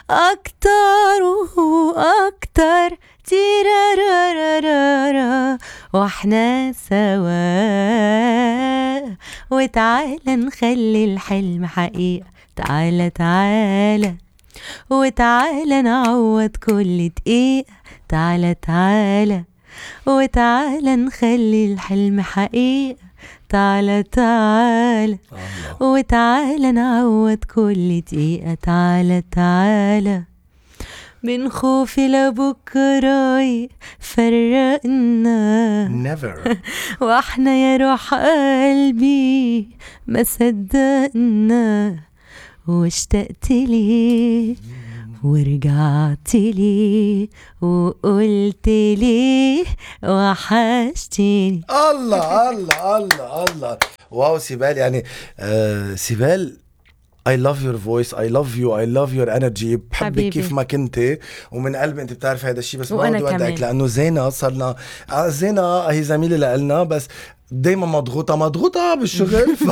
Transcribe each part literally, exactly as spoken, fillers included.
أكتر وأكتر تيرارارارارا وإحنا سوا وتعالى نخلي الحلم حقيقة تعالى تعالى وتعالى نعوض كل دقيقة تعالى تعالى وتعالى نخلي الحلم حقيقة تعالى تعالى وتعالى نعوض كل دقيقة تعالى تعالى من خوفي لبكرة فرقنا never واحنا يا روح قلبي ما صدقنا واشتقت لي ورجعت لي وقلت لي وحشتني. الله الله الله الله واو سيبال يعني آه سيبال I love your voice I love you I love your energy بحبك كيف ما كنتي ومن قلبي انت بتعرف هذا الشيء بس ما بدي ودعك لانه زينة صرنا زينة هي زميلة لنا بس دايما مضغوطة مضغوطة بالشغل ف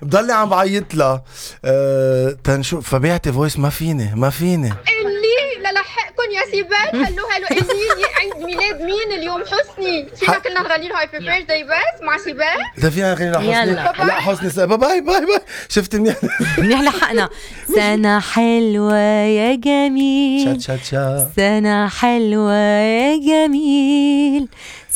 بضلي عم بعيط لها أه تنشوف فبيعتي فويس ما فيني ما فيني اللي للحقكن يا سيبال هلو هلو اللي عيد ميلاد مين اليوم حسني فينا كلنا نغني له هابي بيرثداي بس مع سيبال ده فينا نغني له حسني لا حسني باي باي باي باي شفت منيح منيح لحقنا سنة حلوة يا جميل شات شات شات سنة حلوة يا جميل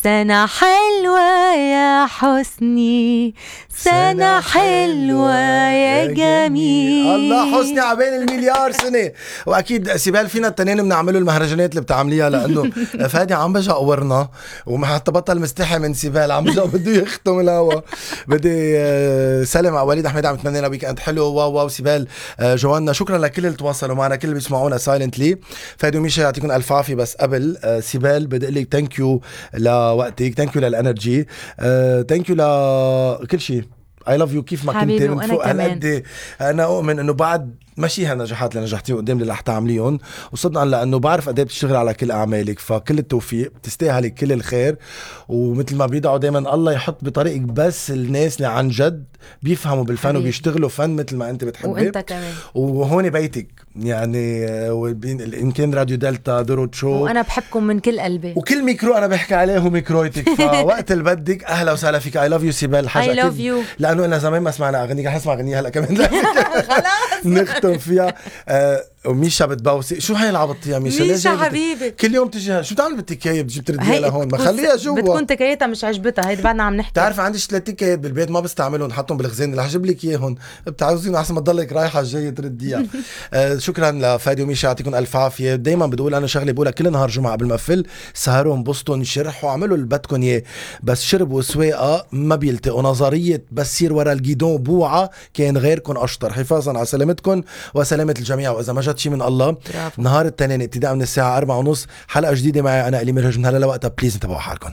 سنة حلوة يا حسني سنة حلوة يا جميل. الله حسني عبين المليار سنة. وأكيد سيبال فينا التنين بنعمله المهرجانات اللي بتعمليها لأنه فادي عم بجا قورنا وما حتى بطل مستحي من سيبال عم بجا بده يختم الهوا. بدي سلم على وليد أحمد عم تمنينا ويكند حلو. واو واو سيبال جوانا شكرا لكل اللي تواصلوا معنا كل اللي بيسمعونا سايلنتلي. فادي وميشا يعطيكم ألف عافية. بس قبل سيبال بدي أقول لك ثانك يو لوقتك ثانك يو للانرجي ثانك يو لكل شيء. I love you كيف ما كنت من فوق هالقد. أنا أؤمن إنه بعد ماشي هالنجاحات اللي نجحتيه قدام اللي رح تعمليهم وصدقا لأنه بعرف قد ايه بتشتغل على كل أعمالك فكل التوفيق بتستاهلي كل الخير. ومثل ما بيدعوا دايما الله يحط بطريقك بس الناس اللي عن جد بيفهموا بالفن حبيب. وبيشتغلوا فن مثل ما أنت بتحبي وأنت كمان. وهون بيتك يعني إن كان راديو دلتا درود شو وأنا بحبكم من كل قلبي وكل ميكرو أنا بحكي عليه هو ميكرويتك. فوقت اللي بدك أهلا وسهلا فيك. I love you سيبال حاجة I love you لأنه أنا زمان ما سمعنا أغنيك رح نسمع أغنية هلأ كمان خلاص نختم فيها. آه وميشا بتبوسي شو هاي العبط يا ميشا؟ ميشا حبيبي كل يوم تجي شو بتعمل بالتكاية بتجي بترديها لهون ما خليها جوا بتكون تكايتها مش عجبتها. هيدا بعدنا عم نحكي. تعرف عندي ثلاث تكايات بالبيت ما بستعملهم نحطهم بالخزانة اللي هجيب لك اياهم بتعوزين احسن ما تضلك رايحة جاية ترديها. آه شكرا لفادي وميشا يعطيكم ألف عافية. دايما بدقول أنا شغلي بقولها كل نهار جمعة قبل ما أقفل سهروا انبسطوا شرحوا عملوا اللي بدكم اياه بس شرب وسواقة ما بيلتقوا. نظرية بس سير ورا الجيدون بوعة كان غيركم أشطر. حفاظا على سلامتكم وسلامة الجميع. وإذا ما جت شي من الله برافو. نهار التنين ابتداء من الساعة أربعة ونص حلقة جديدة معي أنا إلي مرهج من هلا لوقتها. بليز انتبهوا حالكم.